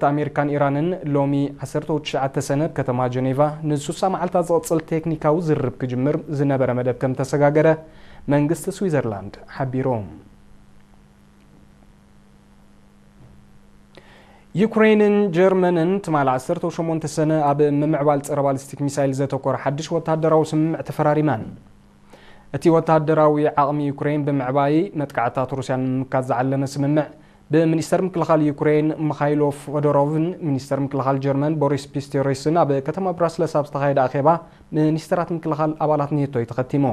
ኣሜሪካን ኢራንን ሎሚ ዓሰርተ ትሽዓተ ሰነ ኣብ ከተማ ጀኔቫ ንስሳ መዓልታት ዝቕጽል ቴክኒካዊ ዝርርብ ክጅምር ዝነበረ መደብ ከም ተሰጋገረ መንግስቲ ስዊዘርላንድ ሓቢሩ። ዩክሬንን ጀርመንን ትማሊ ዓሰርተ ሸሞንተ ሰነ ኣብ ምምዕባል ጸረ ባሊስቲክ ሚሳይል ዘተኮረ ሓድሽ ወተሃደራዊ ስምምዕ ተፈራሪመን። እቲ ወተሃደራዊ ዓቕሚ ዩክሬን ብምዕባይ መጥቃዕታት ሩስያ ንምምካት ዝዓለመ ስምምዕ ብሚኒስተር ምክልኻል ዩክሬን ምኻይሎ ፎዶሮቭን ሚኒስተር ምክልኻል ጀርመን ቦሪስ ፒስቶሪስን ኣብ ከተማ ብራስለስ ኣብ ዝተኻየደ ኣኼባ ሚኒስተራት ምክልኻል ኣባላት ኔቶ እዩ ተኸቲሙ።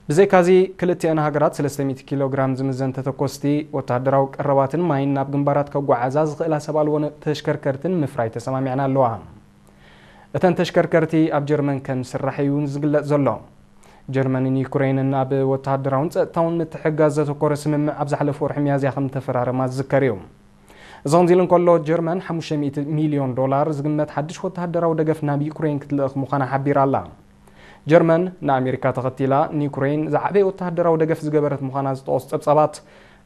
ብዘይካዚ ክልቲአን ሃገራት ሰለስተ ሚእቲ ኪሎ ግራም ዝምዘን ተተኮስቲ ወተሃደራዊ ቀረባትን ማይን ናብ ግንባራት ከጓዓዛ ዝኽእላ ሰብ ኣልቦ ተሽከርከርትን ምፍራይ ተሰማሚዐን ኣለዋ። እተን ተሽከርከርቲ ኣብ ጀርመን ከም ዝስራሕ እዩ ዝግለጽ ዘሎ። ጀርመንን ዩክሬንን ኣብ ወተሃደራውን ጸጥታውን ምትሕግጋዝ ዘተኮረ ስምምዕ ኣብ ዝሓለፈ ወርሒ ሚያዝያ ከም ተፈራረማ ዝዝከር እዩ። እዚ ከምዚ ኢሉ እንከሎ፣ ጀርመን ሓሙሽተ ሚእቲ ሚልዮን ዶላር ዝግመት ሓድሽ ወተሃደራዊ ደገፍ ናብ ዩክሬን ክትልእኽ ምዃና ሓቢራ ኣላ። ጀርመን ንኣሜሪካ ተኸቲላ ንዩክሬን ዝዓበየ ወተሃደራዊ ደገፍ ዝገበረት ምዃና ዝጠቐሱ ጸብጻባት፣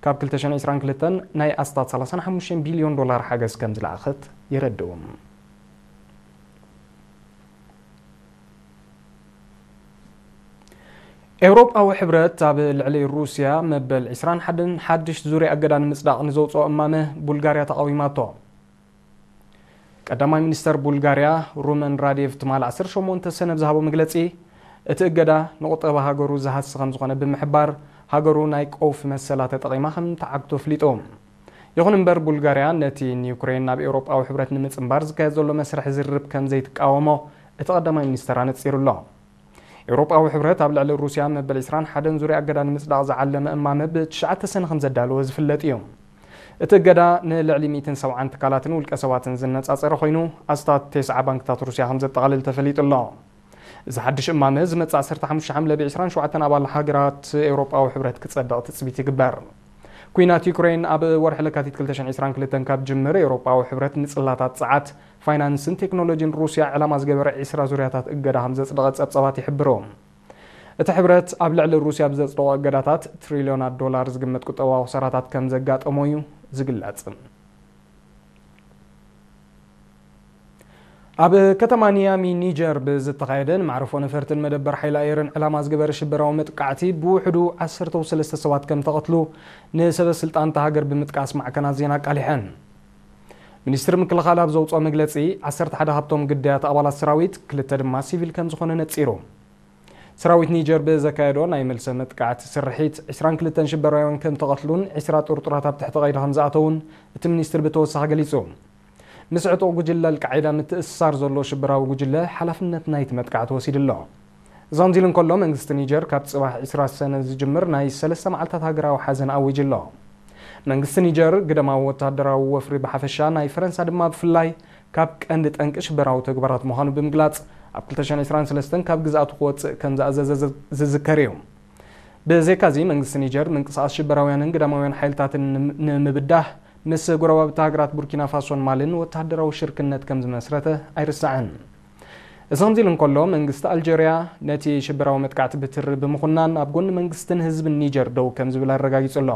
ካብ ክልተ ሽሕን ዕስራን ክልተን ናይ ኣስታት ሰላሳን ሓሙሽተን ቢልዮን ዶላር ሓገዝ ከም ዝለኣኸት የረድኡ። ኤውሮጳዊ ሕብረት ኣብ ልዕሊ ሩስያ መበል ዕስራን ሓደን ሓድሽ ዙርያ እገዳ ንምጽዳቕ ንዘውጽኦ እማመ ቡልጋርያ ተቓዊማቶ። ቀዳማይ ሚኒስተር ቡልጋርያ ሩመን ራዴቭ ትማሊ ዓሰርተ ሸሞንተ ሰነ ብዝሃቦ መግለጺ፣ እቲ እገዳ ንቁጠባ ሃገሩ ዝሃሲ ከም ዝኾነ ብምሕባር፣ ሃገሩ ናይ ቀውፊ መሰላ ተጠቒማ ከም ትዓግቶ ኣፍሊጡ። ይኹን እምበር፣ ቡልጋርያ ነቲ ንዩክሬን ናብ ኤውሮጳዊ ሕብረት ንምጽንባር ዝካየድ ዘሎ መስርሕ ዝርርብ ከም ዘይትቃወሞ እቲ ቀዳማይ ሚኒስተር ኣነጺሩ ኣሎ። ኤውሮጳዊ ሕብረት ኣብ ልዕሊ ሩስያ መበል ዕስራን ሓደን ዙርያ እገዳ ንምጽዳቕ ዝዓለመ እማመ ብትሽዓተ ሰነ ከም ዘዳለወ ዝፍለጥ እዩ። እቲ እገዳ ንልዕሊ ሚእትን ሰብዓን ትካላትን ውልቀ ሰባትን ዝነጻጸረ ኮይኑ፣ ኣስታት ተስዓ ባንክታት ሩስያ ከም ዘጠቓልል ተፈሊጡ ኣሎ። እዚ ሓድሽ እማመ ዝመጽእ ዓሰርተ ሓሙሽተ ሓምለ ብዕስራን ሸውዓተን ኣባል ሃገራት ኤውሮጳዊ ሕብረት ክጸድቕ ትጽቢት ይግበር። ኲናት ዩክሬን ኣብ ወርሒ ለካቲት ክልተ ሽሕን ዕስራን ክልተን ካብ ጅምር፣ ኤውሮጳዊ ሕብረት ንጽላታት ጸዓት፣ ፋይናንስን ቴክኖሎጂን ሩስያ ዕላማ ዝገበረ ዕስራ ዙርያታት እገዳ ከም ዘጽደቐ ጸብጻባት ይሕብሩ። እቲ ሕብረት ኣብ ልዕሊ ሩስያ ብዘጽደቖ እገዳታት ትሪልዮናት ዶላር ዝግመት ቁጠባዊ ክሳራታት ከም ዘጋጠሞ እዩ ዝግለጽ። ኣብ ከተማ ኒያሚ ኒጀር ብዝተኻየደ ንመዕርፎ ነፈርትን መደበር ሓይሊ ኣየርን ዕላማ ዝገበረ ሽበራዊ መጥቃዕቲ ብውሕዱ ዓሰርተ ሰለስተ ሰባት ከም ተቐትሉ ንሰበ ስልጣን እታ ሃገር ብምጥቃስ ማዕከናት ዜና ኣቃሊሐን። ሚኒስትሪ ምክልኻል ኣብ ዘውፅኦ መግለፂ፣ ዓሰርተ ሓደ ካብቶም ግዳያት ኣባላት ሰራዊት፣ ክልተ ድማ ሲቪል ከም ዝኾነ ነፂሩ። ሰራዊት ኒጀር ብዘካየዶ ናይ መልሰ መጥቃዕቲ ስርሒት፣ ዕስራን ክልተን ሽበራውያን ከም ተቐትሉን ዕስራ ጥርጡራት ኣብ ትሕቲ ቀይዲ ከም ዝኣተዉን እቲ ሚኒስትሪ ብተወሳኺ ገሊጹ። ምስ ዕጡቕ ጉጅለ ኣልቃዒዳ ምትእስሳር ዘሎ ሽበራዊ ጉጅለ ሓላፍነት ናይቲ መጥቃዕቲ ወሲዱ ኣሎ። እዚ ከምዚ ኢሉ እንከሎ፣ መንግስቲ ኒጀር ካብ ጽባሕ ዕስራ ሰነ ዝጅምር ናይ ሰለስተ መዓልታት ሃገራዊ ሓዘን ኣዊጁ ኣሎ። መንግስቲ ኒጀር ግደማዊ ወተሃደራዊ ወፍሪ ብሓፈሻ፣ ናይ ፈረንሳ ድማ ብፍላይ፣ ካብ ቀንዲ ጠንቂ ሽበራዊ ተግባራት ምዃኑ ብምግላጽ፣ ኣብ ክልተ ሽሕን ዕስራን ሰለስተን ካብ ግዝኣቱ ክወጽእ ከም ዝኣዘዘ ዝ-፣ ዝዝከር እዩ። ብዘይካዚ፣ መንግስቲ ኒጀር ምንቅስቓስ ሽበራውያንን ግዳማውያን ሓይልታትን ንም-፣ ንምብዳህ ምስ ጎረባብቲ ሃገራት ቡርኪና ፋሶን ማልን ወተሃደራዊ ሽርክነት ከም ዝመስረተ ኣይርሳዕን። እዚ ከምዚ ኢሉ እንከሎ፣ መንግስቲ ኣልጀርያ ነቲ ሽበራዊ መጥቃዕቲ ብትሪ ብምኹናን ኣብ ጎኒ መንግስትን ህዝብን ኒጀር ደው ከም ዝብል ኣረጋጊጹ ኣሎ።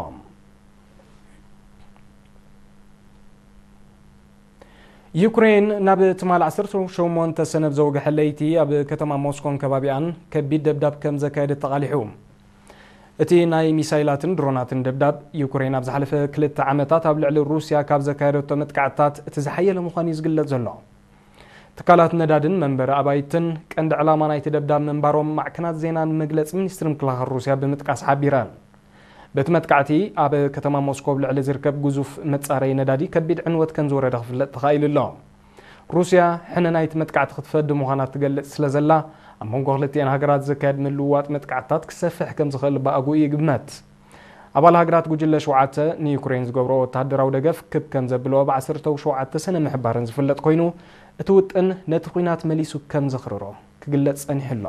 ዩክሬን ናብ ትማሊ ዓሰርተ ሸሞንተ ሰነ ኣብ ዘውግሐ ለይቲ ኣብ ከተማ ሞስኮን ከባቢኣን ከቢድ ደብዳብ ከም ዘካየደት ተቓሊሑ። እቲ ናይ ሚሳይላትን ድሮናትን ደብዳብ፣ ዩክሬን ኣብ ዝሓለፈ ክልተ ዓመታት ኣብ ልዕሊ ሩስያ ካብ ዘካየደቶ መጥቃዕትታት እቲ ዝሓየለ ምዃኑ እዩ ዝግለጽ ዘሎ። ትካላት ነዳድን መንበሪ ኣባይትን ቀንዲ ዕላማ ናይቲ ደብዳብ ምንባሮም ማዕከናት ዜናን መግለጺ ሚኒስትሪ ምክልኻል ሩስያ ብምጥቃስ ሓቢረን። በቲ መጥቃዕቲ፣ ኣብ ከተማ ሞስኮ ኣብ ልዕሊ ዝርከብ ግዙፍ መጻረዪ ነዳዲ ከቢድ ዕንወት ከም ዝወረደ ክፍለጥ ተኻኢሉ ኣሎ። ሩስያ ሕነ ናይቲ መጥቃዕቲ ክትፈዲ ምዃና ትገልጽ ስለ ዘላ፣ ኣብ መንጎ ክልቲኤን ሃገራት ዝካየድ ምልውዋጥ መጥቃዕትታት ክሰፍሕ ከም ዝኽእል ብኣግኡ ይግመት። ኣባል ሃገራት ጉጅለ ሸውዓተ ንዩክሬን ዝገብሮ ወተሃደራዊ ደገፍ ክብ ከም ዘብልኦ ብ ዓሰርተ ሸውዓተ ሰነ ምሕባረን ዝፍለጥ ኮይኑ፣ እቲ ውጥን ነቲ ኲናት መሊሱ ከም ዘኽርሮ ክግለጽ ጸኒሑ ኣሎ።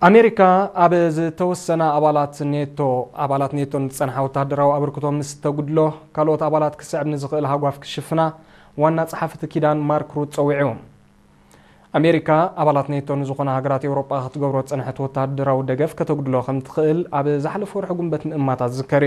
ኣሜሪካ ኣብ ዝተወሰና ኣባላት ኔቶ፣ ኣባላት ኔቶ ንዝጸንሓ ወተሃደራዊ ኣበርክቶ ምስ ተጉድሎ፣ ካልኦት ኣባላት ክስዕብ ንዝኽእል ሃጓፍ ክሽፍና ዋና ጸሓፊ እቲ ኪዳን ማርክ ሩት ጸዊዑ። ኣሜሪካ ኣባላት ኔቶ ንዝኾና ሃገራት ኤውሮጳ ክትገብሮ ዝጸንሐት ወታደራዊ ደገፍ ከተጉድሎ ከም ትኽእል ኣብ ዝሓለፈ ወርሒ ጉንበት ምእማታ ዝዝከር እዩ።